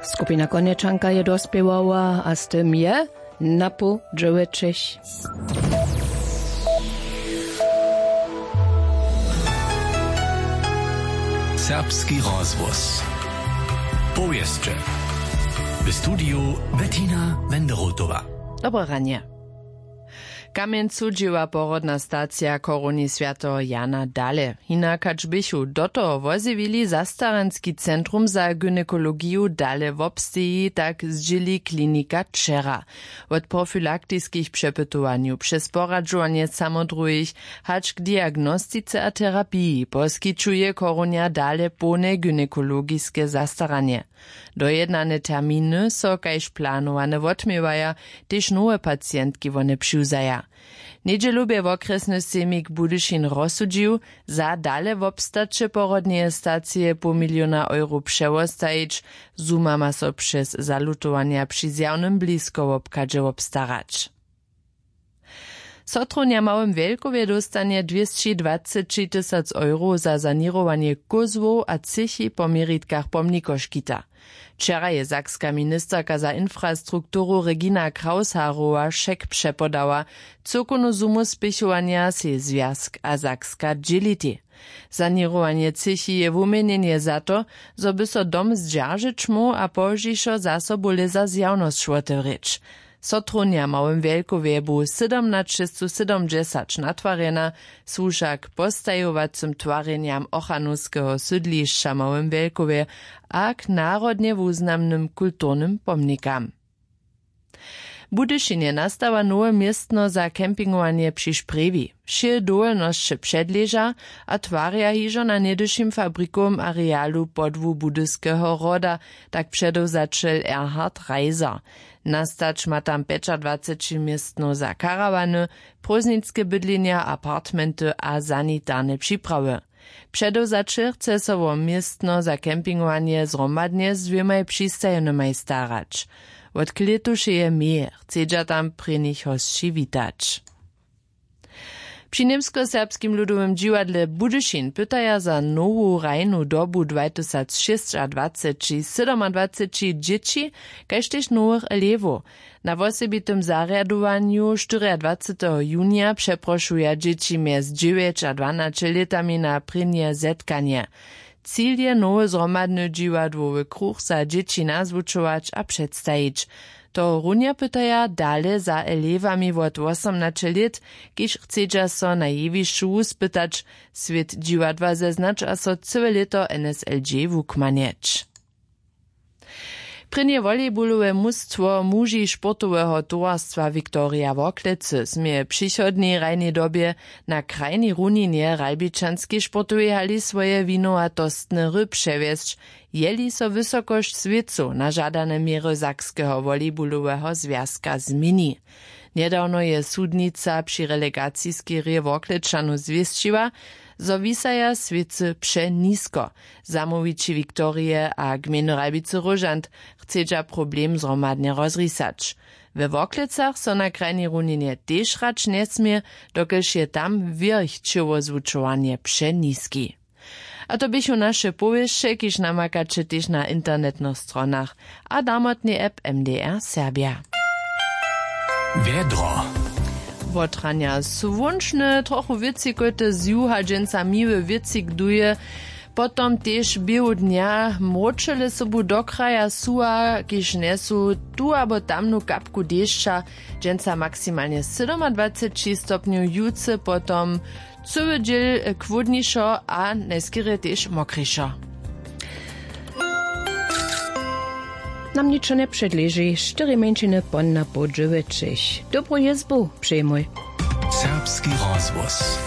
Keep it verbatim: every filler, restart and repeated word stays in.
Skupina Konječanka je dospěłała a z tym je na pół dźewjećich. Serbski rozhłos. Powěsće. W studiju Bettina Wenderotowa. Dobre ranje. Kamjencu dźěła porodna stacija chorowni swjateho Jana dale. Hinak hač běchu do toho wozjewili zastaranski centrum za gynekologiju dale wobsteji, tak zdźěli klinika wčera. Wot profilaktiskich přepytowanjow přez poradźowanje samodruhich hač k diagnostice a terapiji poskićuje chorownja dale połne gynekologiske zastaranje. Dojednane terminy so kaž planowane wotměwaja, tež nowe pacientki wone přiwzaja. Njedźelu bě wokrjesny sejmik Budyšin rozsudźił, za dale wobstaće porodneje stacije poł miliona euro přewostajić. Zuma ma so přez zalutowanja při zjawnym bliskowobchadźe wobstarać. Sotrownja w Małym Wjelkowje dóstanje dwěsći dwaceći tysac euro za saněrowanje kózłow a třěchi po měritkach pomnikoškita. Wčera je sakska ministerka za infrastrukturu Regina Krausharowa šek přepodała. Cyłkownu sumu spěchowanja sej zwjazk a sakska dźělitej. Saněrowanje třěchi je wuměnjenje za to, zo by so dom zdźeržeć móhł a pozdźišo zaso bóle za zjawnosć wotewrěć. Sotrownja w Małym Wjelkowje bu sydomnaćestow sydomdźesać natwarjena, słuša k postajowacym twarjenjam ochranowskeho sydlišća w Małym Wjelkowje a k narodnje wuznamnym kulturnym pomnikam. W Budyšinje nastawa nowe městno za campingowanje při Šprjewi. Wšě dowolnosće předleža a twarja hižo na něhdyšim fabrikowym arealu podłu Budyskeho hroda, tak předewzaćel Erhard Reiser. Nastać ma tam pjećadwaceći městnow za karawany, prózdninske bydlenja, apartmenty a sanitarne připrawy. Předewzaćel chce so wo městno za campingowanje zhromadnje z dwěmaj přistajenymaj starać. Wot klětušeje meje chcedźa tam prěnich hosći witać. Při Němskoserbskim ludowym dźiwadle Budyšin pytaja za nowu hrajnu dobu dwatysacšěsćadwaceći sydomadwaceći dźěći, kaž tež nowych elewow. Na wosebitym zarjadowanju štyriadwaceteho junija přeprošuja dźěći mjez dźewjeć a dwanaće lětami na prěnje zetkanje. Cil je nowy zhromadny dźiwadłowy kruch za dźěći nazwučować a předstajić. Tohorunja pytaja dale za elewami wot wosomnaće lět, kiž chcedźa so na jewišću wuspytać, swět dźiwadła zeznać a so cyłe lěto N S L G wukmanjeć. Prěnje volejbolowe mustwo muži sportoweho towarstwa Viktorija Worklecy směje w přichodnej hrajnej dobje na krajnej runinje Ralbičanskej sportowej hali swoje winowatostne hry přewjesć, jeli so wysokosć swěcow na žadane měry Sakskeho volejboloweho zwjazka změni. Njedawno je sudnica při relegaciskej hrě Worklečanow zwěsćiła, zo wisaja swěcy přenisko. Zamołwići Viktorije a gmejny Ralbicy Róžant chcedźa problem zhromadnje rozrisać. We Worklecach so na krajnej runinje tež hrać njesmě, dokelž je tam wěrch ćěłozwučowanje přeniski. A to běchu naše powěsće, kiž namakaće tež na internetnych stronach a damotnej app M D R Serbja. Wjedro. Wotranja słónčne, trochu wětřikojte, z juha dźensa miły wětřik duje, potom tež běhu dnja mróčele sobu do kraja suha, kiž njesu tu abo tamnu kapku dešća. Dźensa maksimalnje sydomadwaceći stopnjow, jutře potom cyły dźěl chłódnišo a najskerje tež mokrišo. Nam ničo njepředleži, štyri mjeńšiny pon na poł dźewjećich. Dobru jězbu přejmoj. Serbski rozhłos.